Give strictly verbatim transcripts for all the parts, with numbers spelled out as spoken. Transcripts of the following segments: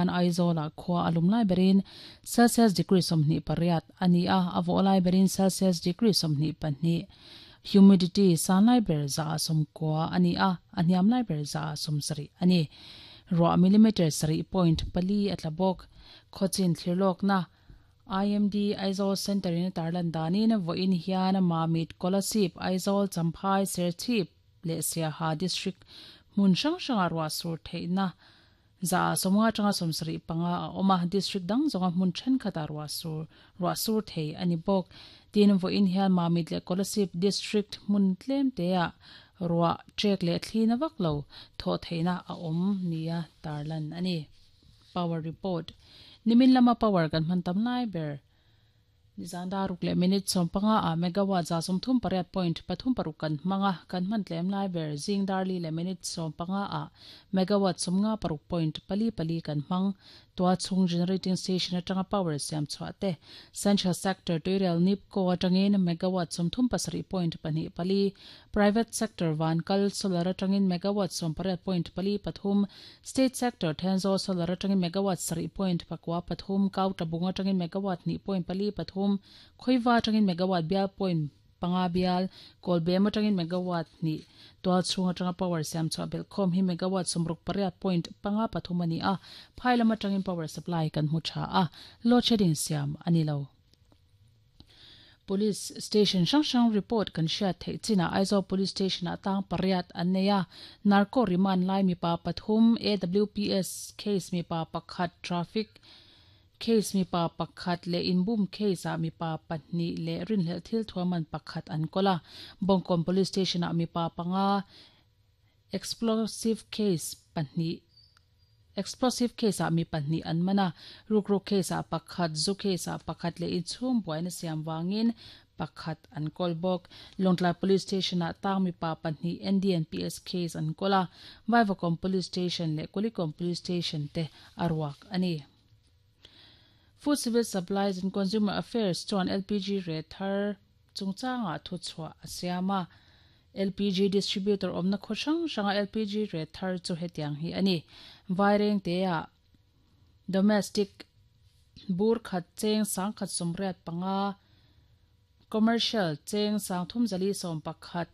An Aizawl ah khua a lum lai berin Celsius degree sawmhnih pariat a ni a, a vawh lai berin Celsius degree sawmhnih pahnih. Humidity san lai ber za ah sawmkua a ni a, a hniam lai ber za ah sawmsarih a ni. Ruah millimeter sarih point pali a tla bawk. Khawchin thlirlawkna I M D Aizawl Centre in a tarlan danin vawiin hian Mamit, Kolasib, Aizawl, Champhai, Serchhip leh Siaha District hmun hrang hrangah ruah sur theihna za ah sawmnga atanga sawmsarih panga a awm a, district dang zawnga hmun thenkhatah ruah sur ruah sur thei a ni bawk. Tin, vawiin hian Mamit leh Kolasib District hmun tlem teah ruah trek leh thlina vak lo thawh theihna a awm nia tarlan a ni. Power report. Nimin lama power kan hman tam lai ber. Nizan daruk leh minute sawm panga ah megawatt za sawmthum pariat point pathum paruk kan hmang a, kan hman tlem lai ber zing darli leh minute sawm panga ah megawatt sawmnga paruk point pali pali kan hmang. Tua chhung generating station atanga power siam chhuah te Central Sector tuirel NEEPCO atangin megawatt sawmthum pasarih point pahnih pali, Private Sector Vankal Solar atangin megawatt sawm pariat point pali pathum, State Sector Thenzawl Solar atangin megawatt sarih point pakua pathum, Kautabung atangin megawatt hnih point pali pathum, Khoiva atangin megawatt bial point panga bial, Kawlbem atangin megawatt hnih, tual chhung atanga power siam chhuah belhkhawm hi megawatt sawmruk pariat point panga pathum a ni a, phai lam atangin power supply kan hmu tha a, load shedding siam a ni lo. Police station hrang hrang report kan hriat theih chinah Aizawl Police Station ah tang pariat an nei a, narco remand lai mipa pathum, A W P S case mipa pakhat, traffic case mipa pakhat leh inbum case ah mipa pahnih leh rinhlelh thil thuaman pakhat an kawl a. Bawngkawn Police Station ah mipa panga, explosive case pahnih explosive case ah mi pahnih an man a, rukruk case ah pakhat, zu case ah pakhat leh inchhung buaina siam vangin pakhat an kawl bawk. Lawngtlai Police Station ah tang mipa pahnih N D N P S case an kawl a, Vaivakawn Police Station leh Kulikawn Police Station te a ruak a ni. Food Civil Supplies and Consumer Affairs chuan L P G rate thar chungchangah thu chhuah a siam a. L P G distributor awmna khaw hrang hranga L P G rate thar chu hetiang hi a ni. Vaireng teah domestic bur khat cheng sangkhat sawmriat panga, commercial cheng sangthum zali sawm pakhat,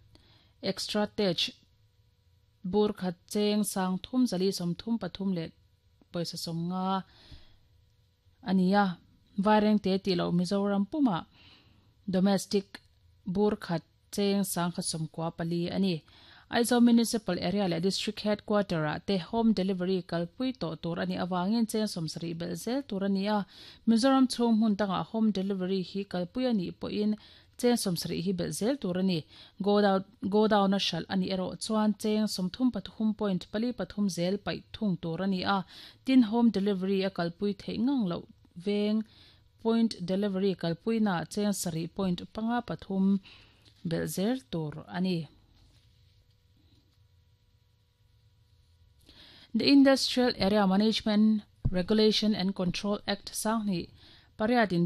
extra tej bur khat cheng sangthum zali sawmthum pathum leh pawisa sawmnga a ni a. Vaireng te tih loh Mizoram pumah domestic bur khat cheng sangkhat sawmkua pali a ni. Aizawl Municipal Area leh District Headquarter ah te home delivery kalpui tawh tur a nih avangin cheng sawmsarih belh zel tur a ni a. Mizoram chhung hmun dangah home delivery hi kalpui a nih pawhin cheng sawmsarih hi belh zel tur a ni. Godown a hralh a nih erawh chuan cheng sawmthum pathum point pali pathum zel paih thung tur a ni a. Tin, home delivery a kalpui theih ngang loh veng point delivery kalpuina cheng sarih point panga pathum belh zel tur a ni. The Industrial Area Management Regulation and Control Act sanghnih pariat in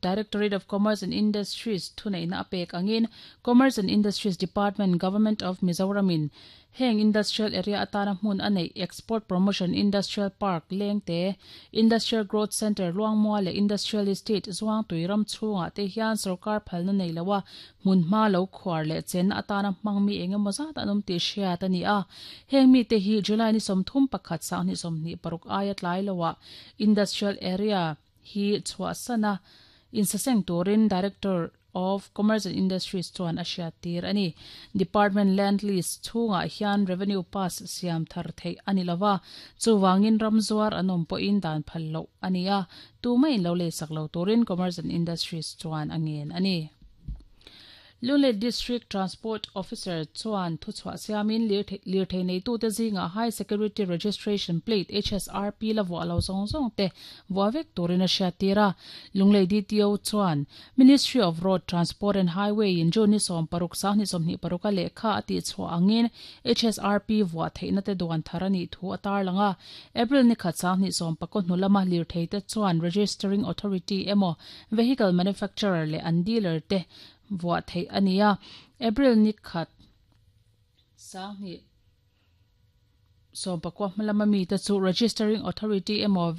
Directorate of Commerce and Industries thuneihna a pek angin Commerce and Industries Department, Government of Mizoram in heng industrial area atana hmun a neih Export Promotion Industrial Park Lengte, Industrial Growth Centre Luangmua leh Industrial Estate Zuangtui ram chhungah te hian sarkar phalna nei lo a, hmun hma lo khuar leh chen atana hmang mi engemaw zat an awm tih hriat a ni a. Heng mi te hi July ni sawmthum pakhat sanghnih sawmhnih paruk aia tlai loah industrial area hi chhuah sana insaseng turin Director of Commerce and Industries chuan a hriat tir a ni. Department land lease chhungah hian revenue pass siam thar theih a ni lova, chuwangin ramzuar an awm pawhin dan phal loh a ni a, tumah in lo leisak lo turin Commerce and Industries chuan a ngen a ni. Lunglei District Transport Officer chuan thu chhuah siamin lirthei neitute zingah High Security Registration Plate H S R P la vuah lo zawng zawng te vuah vek turin a hriat tir a. Lunglei D T O chuan Ministry of Road Transport and Highway in June ni sawm paruk sanghnih sawmhnih paruk a lehkha a tih chhuah angin H S R P vuah theihna te duan thar a nih thu a tar lang a. April ni khat sanghnih sawm pakaw hnu lama lirthei te chuan Registering Authority emaw Vehicle Manufacturer leh an dealer te vuah theih a ni a. April ni khat sanghnih Sawmpakua hma lama mite chu registering authority emaw